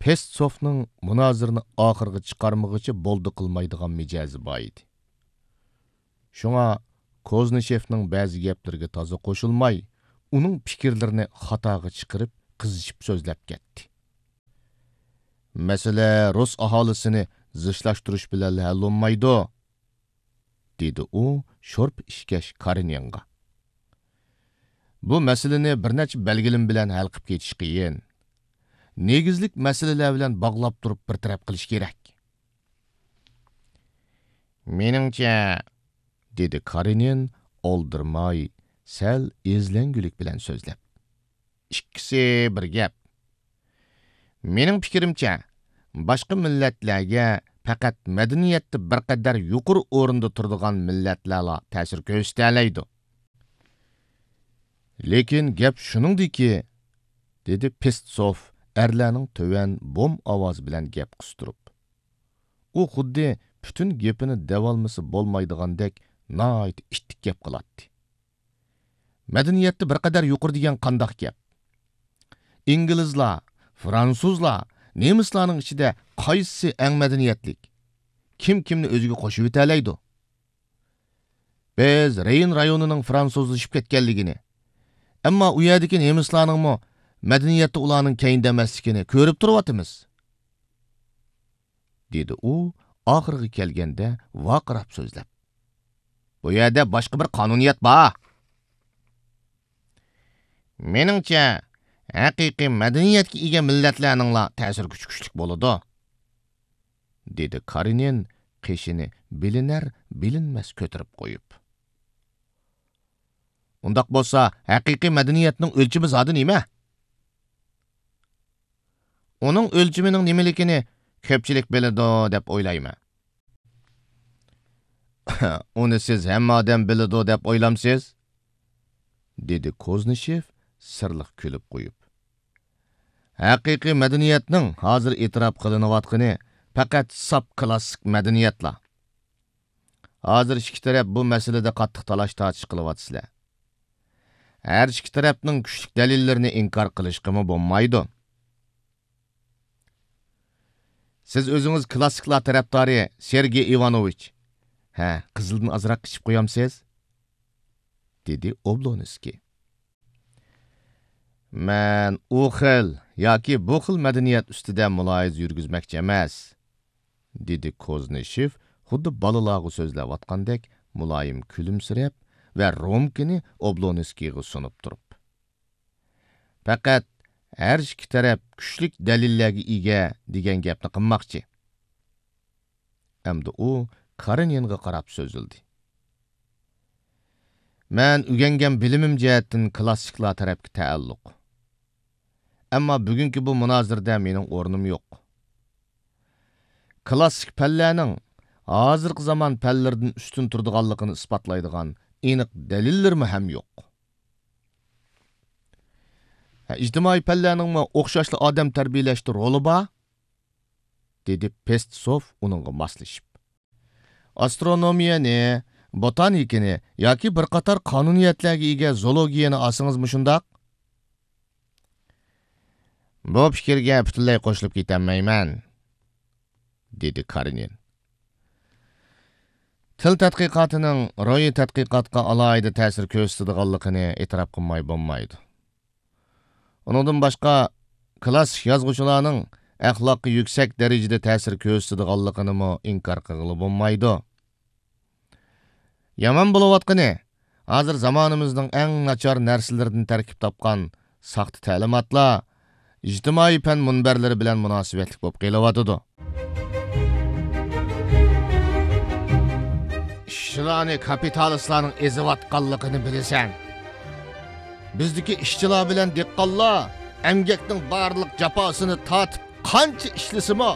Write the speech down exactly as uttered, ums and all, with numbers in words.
پېستسوفنىڭ مۇنازىرىنى ئاخىرغا چىقارمىغۇچە بولدى قىلمايدىغان مىجەزى بار ئىدى. شۇڭا كوزنىشېفنىڭ بەزى گەپلىرىگە تازا قوشۇلماي، ئۇنىڭ پىكىرلىرىنى خاتاغا چىقىرىپ، قىزىشىپ سۆزلەپ كەتتى. «مەسىلە رۇس ئاھالىسىنى زىچلاشتۇرۇش بىلەنلا ھەل بولمايدۇ»، دېدى ئۇ شورپا ئىچكەچ كارېنىنغا. «بۇ مەسىلىنى بىر نەچچە بەلگىلىمە بىلەن ھەل قىلىپ كېتىش قىيىن. نېگىزلىك مەسىلىلەر بىلەن باغلاپ تۇرۇپ بىر تەرەپ قىلىش كېرەك.» «مېنىڭچە»، دېدى كارېنىن ئالدىرىماي، سەل ئېزىلەڭگۈلۈك بىلەن سۆزلەپ. «ئىككىسى بىر گەپ. مېنىڭ پىكرىمچە، باشقا مىللەتلەرگە پەقەت مەدەنىيەتتە بىر قەدەر يۇقىرى ئورۇندا تۇرىدىغان مىللەتلەرلا تەسىر كۆرسىتەلەيدۇ.» «لېكىن گەپ شۇنىڭدىكى»، دېدى پېستسوف ئەرلەرنىڭ تۆۋەن بوم ئاۋازى بىلەن گەپ قىستۇرۇپ. ئۇ خۇددى پۈتۈن گېپىنى دەۋالمىسا بولمايدىغاندەك ناھايىتى ئىتتىك گەپ قىلاتتى. «مەدەنىيەتتە بىر قەدەر يۇقىرى دېگەن قانداق گەپ؟ ئىنگلىزلار، فرانسۇزلار، نېمىسلارنىڭ ئىچىدە قايسىسى ئەڭ مەدەنىيەتلىك؟ كىم كىمنى ئۆزىگە قوشۇۋېتەلەيدۇ؟ بىز رېين رايونىنىڭ فرانسۇزلىشىپ كەتكەنلىكىنى، ئەمما ئۇ يەردىكى نېمىسلارنىڭمۇ مەدەنىيەتتە ئۇلارنىڭ كەينىدە ئەمەسلىكىنى كۆرۈپ تۇرۇۋاتىمىز.» دېدى ئۇ ئاخىرىغا كەلگەندە ۋارقىراپ سۆزلەپ. «بۇ يەردە باشقا بىر قانۇنىيەت بار. مېنىڭچە، ھەقىقىي مەدەنىيەتكە ئىگە مىللەتلەرنىڭلا تەسىر كۈچى كۈچلۈك بولىدۇ.» دېدى كارېنىن قېشىنى بىلىنەر-بىلىنمەس كۆتۈرۈپ قويۇپ. «ئۇنداق بولسا، ھەقىقىي مەدەنىيەتنىڭ ئۆلچىمى زادى نېمە؟ ئۇنىڭ ئۆلچىمىنىڭ نېمىلىكىنى كۆپچىلىك بىلىدۇ دەپ ئويلايمەن.» «ئۇنى سىز ھەممە ئادەم بىلىدۇ دەپ ئويلامسىز؟» دېدى كوزنىشېف سىرلىق كۈلۈپ قويۇپ. «ھەقىقىي مەدەنىيەتنىڭ ھازىر ئېتىراپ قىلىنىۋاتقىنى پەقەت ساپ كلاسسىك مەدەنىيەتلا. ھازىر ئىككى تەرەپ بۇ مەسىلىدە قاتتىق تالاش-تارتىش قىلىۋاتىسىلەر. ھەر ئىككى تەرەپنىڭ كۈچلۈك دەلىللىرىنى ئىنكار قىلىشقىمۇ بولمايدۇ. سىز ئۆزىڭىز كلاسسىكلار تەرەپدارى سېرگېي ئىۋانوۋىچ. ھە، قىزىلدىن ئازراق ئىچىپ قويامسىز؟» دېدى ئوبلونسكىي. «مەن ئۇ خىل ياكى بۇ خىل مەدەنىيەت ئۈستىدە مۇلاھىزە يۈرگۈزمەكچى ئەمەس»، دېدى كوزنىشېف خۇددى بالىلارغا سۆزلەۋاتقاندەك مۇلايىم كۈلۈمسىرەپ ۋە رومكىنى ئوبلونسكىيغا سۇنۇپ تۇرۇپ. «پەقەت ھەر ئىككى تەرەپ كۈچلۈك دەلىللەرگە ئىگە دېگەن گەپنى قىلماقچى.» ئەمدى ئۇ كارېنىنغا قاراپ سۆزلىدى. «مەن ئۆگەنگەن بىلىمىم جەھەتتىن كلاسسىكلار تەرەپكە تەئەللۇق. ئەمما بۈگۈنكى بۇ مۇنازىرىدە مېنىڭ ئورنۇم يوق. كلاسسىك پەنلەرنىڭ ھازىرقى زامان پەنلىرىدىن ئۈستۈن تۇرىدىغانلىقىنى ئىسپاتلايدىغان ئېنىق دەلىللىرىمۇ ھەم يوق.» «ھە، ئىجتىمائىي پەنلەرنىڭمۇ ئوخشاشلا ئادەم تەربىيەلەشتە رولى بار؟» دېدى پېستسوف ئۇنىڭغا ماسلىشىپ. «ئاسترونومىيەنى، بوتانىكىنى ياكى بىر قاتار قانۇنىيەتلەرگە ئىگە زولوگىيەنى ئالسىڭىزمۇ شۇنداق؟» «بۇ پىكىرگە پۈتۈنلەي قوشۇلۇپ كېتەلمەيمەن»، دېدى كارېنىن. «تىل تەتقىقاتىنىڭ روھىي تەتقىقاتقا ئالاھىدە تەسىر كۆرسىتىدىغانلىقىنى ئېتىراپ قىلماي بولمايدۇ. ئۇنىڭدىن باشقا، كلاسسىك يازغۇچىلارنىڭ ئەخلاققا يۈكسەك دەرىجىدە تەسىر كۆرسىتىدىغانلىقىنىمۇ ئىنكار قىلغىلى بولمايدۇ. يامان بولۇۋاتقىنى، ھازىر زامانىمىزنىڭ ئەڭ ناچار نەرسىلىرىدىن تەركىب تاپقان ساختا تەلىماتلار ئىجتىمائىي پەن مۇنبەرلىرى بىلەن مۇناسىۋەتلىك بولۇپ قېلىۋاتىدۇ.» «ئىشچىلارنى كاپىتالىستلارنىڭ ئېزىۋاتقانلىقىنى بىلىسەن. بىزدىكى ئىشچىلار بىلەن دېھقانلار ئەمگەكنىڭ بارلىق جاپاسىنى تارتىپ، قانچە ئىشلىسىمۇ،